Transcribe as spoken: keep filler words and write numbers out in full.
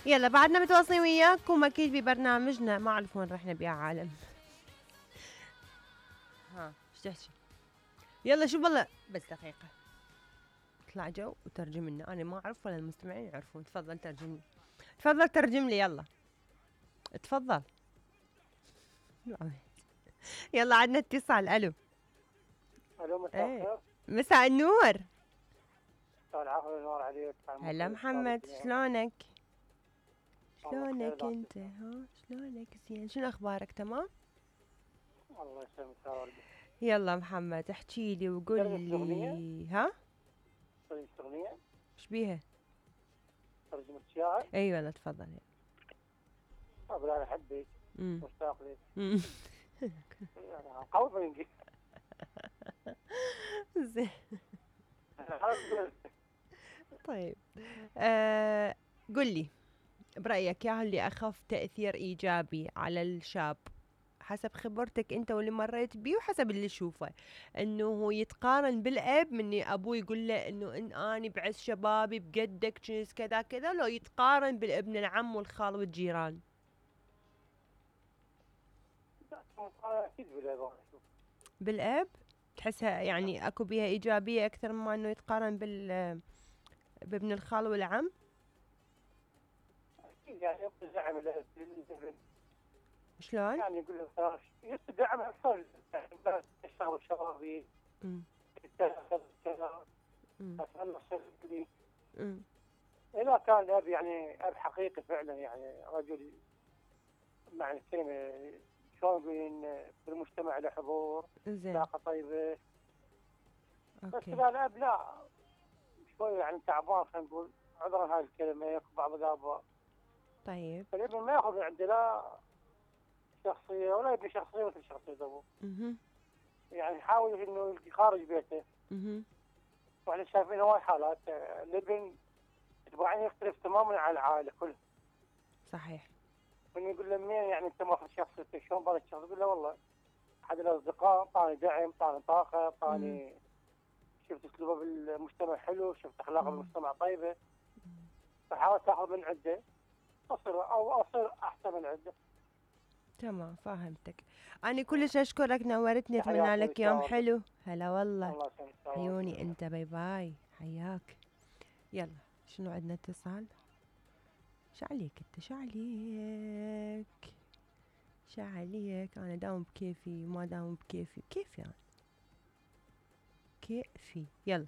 يلا بعدنا متواصلين وياكم اكيد ببرنامجنا، ما اعرف وين رحنا بيا عالم. ها ايش تحكي؟ يلا شوف والله بس دقيقة اطلع جو وترجم لنا، انا ما اعرف ولا المستمعين يعرفون. تفضل ترجم لي، تفضل ترجم لي، يلا تفضل. يلا عندنا اتصال. الو الو مساء ايه الخير. مساء النور. مساء العافية والنور عليك. هلا محمد، شلونك؟ شلونك انت؟ ها شلونك؟ زين، شنو اخبارك؟ تمام؟ الله يسلمك يا ولدي. يلا محمد احكي لي وقول لي. ها ترجمة أغنية؟ ايش بيها؟ ترجمة شعر؟ اي والله تفضل. أقول أنا أحبك مشتاق لك. يعني قوي بالإنجليزي. زين طيب آه قل لي برأيك يا اللي أخف تأثير إيجابي على الشاب حسب خبرتك أنت واللي مريت بيه وحسب اللي شوفه، إنه هو يتقارن بالأب من أبوه يقول له إنه إن أنا بعز شبابي بقدك جنس كذا كذا، لو يتقارن بالابن العم والخال والجيران؟ أكيد بالأب. بالأب تحسها يعني أكو بيها إيجابية أكثر مما إنه يتقارن بال بابن الخال والعم؟ أكيد يعني يبقى دعم الأب. شلون؟ يعني يقول له يبقى دعم أكثر الشغل الشبابي. يتخذ كذا. أتمنى لي. إذا كان الأب يعني أب حقيقي فعلا، يعني رجل معنى الكلمة شلون يقولين بالمجتمع له حضور، علاقة طيبة. بس إذا الأب لا شوي يعني تعبان، خلينا نقول عذرا هاي الكلمة، ياخذ بعض الآباء. طيب. فالابن ما ياخذ عنده لا شخصية ولا يبني شخصية مثل شخصية أبوه. يعني يحاول إنه يخارج بيته. وإحنا شايفين هواي حالات الابن طبعا يختلف تماما عن العائلة كلها. صحيح. من يقول له منين يعني أنت ماخذ شخصيتك، شلون بالك شخص؟ يقول له والله أحد الأصدقاء طاني دعم، طاني طاقة، طاني شفت أسلوبه بالمجتمع حلو، شفت أخلاقه بالمجتمع طيبة، فحاول تاخذ من عنده أصير أو أصير أحسن من عنده. تمام فهمتك. أنا كلش أشكرك، نورتني، أتمنى لك يوم حلو. هلا والله. الله عيوني أنت، باي باي، حياك. يلا شنو عندنا اتصال؟ شو عليك أنت؟ شو عليك؟ شو عليك؟ أنا داوم بكيفي وما داوم بكيفي، كيفي أنا كيفي. يلا